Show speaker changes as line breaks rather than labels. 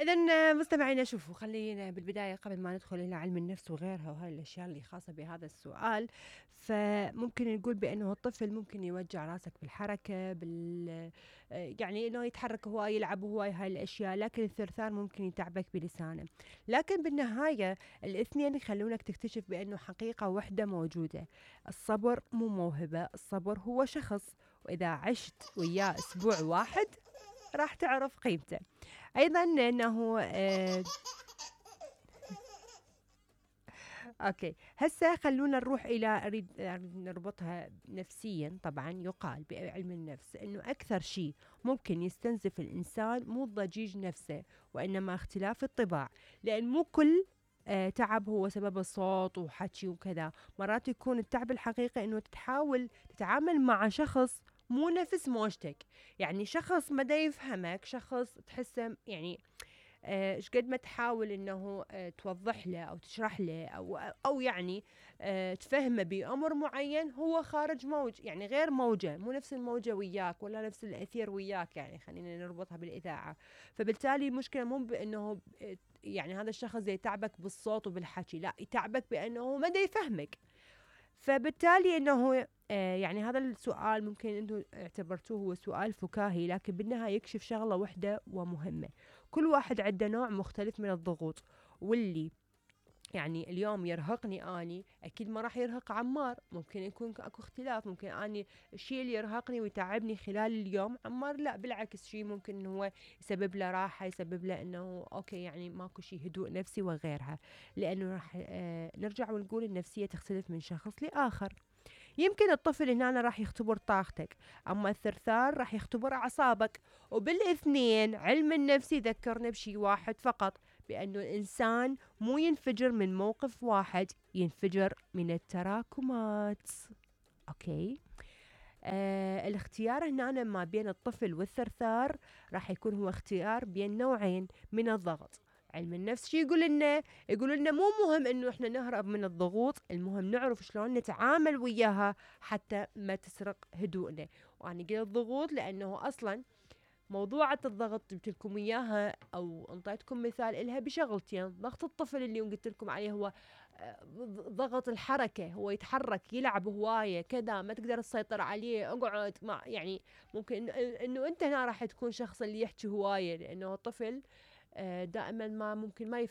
إذن مستمعينا، شوفوا خلينا بالبداية قبل ما ندخل إلى علم النفس وغيرها وهاي الأشياء اللي خاصة بهذا السؤال، فممكن نقول بأنه الطفل ممكن يوجع راسك بالحركة يعني إنه يتحرك هواي، يلعب هواي، هاي الأشياء. لكن الثرثار ممكن يتعبك بلسانه. لكن بالنهاية الاثنين يخلونك تكتشف بأنه حقيقة وحدة موجودة. الصبر مو موهبة، الصبر هو شخص، وإذا عشت وياه أسبوع واحد راح تعرف قيمته. أيضا أنه أوكي، هسه خلونا نروح إلى أريد نربطها نفسيا. طبعا يقال بعلم النفس أنه أكثر شيء ممكن يستنزف الإنسان مو الضجيج نفسه، وإنما اختلاف الطباع. لأن مو كل تعب هو سبب الصوت وحكي وكذا. مرات يكون التعب الحقيقي أنه تحاول تتعامل مع شخص مو نفس موجتك. يعني شخص ما دا يفهمك، شخص تحسه يعني ايش قد ما تحاول انه توضح له او تشرح له او يعني تفهمه بامر معين، هو خارج موج، يعني غير موجه، مو نفس الموجه وياك ولا نفس الاثير وياك. يعني خلينا نربطها بالاذاعه. فبالتالي المشكله مو بانه يعني هذا الشخص يتعبك بالصوت وبالحكي، لا، يتعبك بانه ما دا يفهمك. فبالتالي انه يعني هذا السؤال ممكن انتم اعتبرتوه هو سؤال فكاهي، لكن بالنهاية يكشف شغلة وحدة ومهمة. كل واحد عنده نوع مختلف من الضغوط، واللي يعني اليوم يرهقني اني اكيد ما راح يرهق عمار. ممكن يكون اكو اختلاف، ممكن اني الشيء اللي يرهقني ويتعبني خلال اليوم عمار لا، بالعكس، شيء ممكن انه هو يسبب له راحه، يسبب له انه اوكي يعني ماكو شيء، هدوء نفسي وغيرها. لانه راح نرجع ونقول النفسيه تختلف من شخص لاخر. يمكن الطفل هنا راح يختبر طاقتك، أما الثرثار راح يختبر أعصابك. وبالاثنين علم النفس يذكرنا بشي واحد فقط، بأنه الإنسان مو ينفجر من موقف واحد، ينفجر من التراكمات. أوكي. الاختيار هنا ما بين الطفل والثرثار راح يكون هو اختيار بين نوعين من الضغط. علم النفس شو يقول لنا؟ يقول لنا مو مهم انه احنا نهرب من الضغوط، المهم نعرف شلون نتعامل وياها حتى ما تسرق هدوءنا. وانا قلت ضغوط لانه اصلا موضوعة الضغط جبت لكم اياها او انطيتكم مثال الها بشغلتين. ضغط الطفل اللي قلت لكم عليه هو ضغط الحركة، هو يتحرك، يلعب هواية كذا، ما تقدر تسيطر عليه، اقعد مع يعني ممكن انه انت هنا راح تكون شخص اللي يحكي هواية، لانه الطفل دائما ما ممكن ما يفهم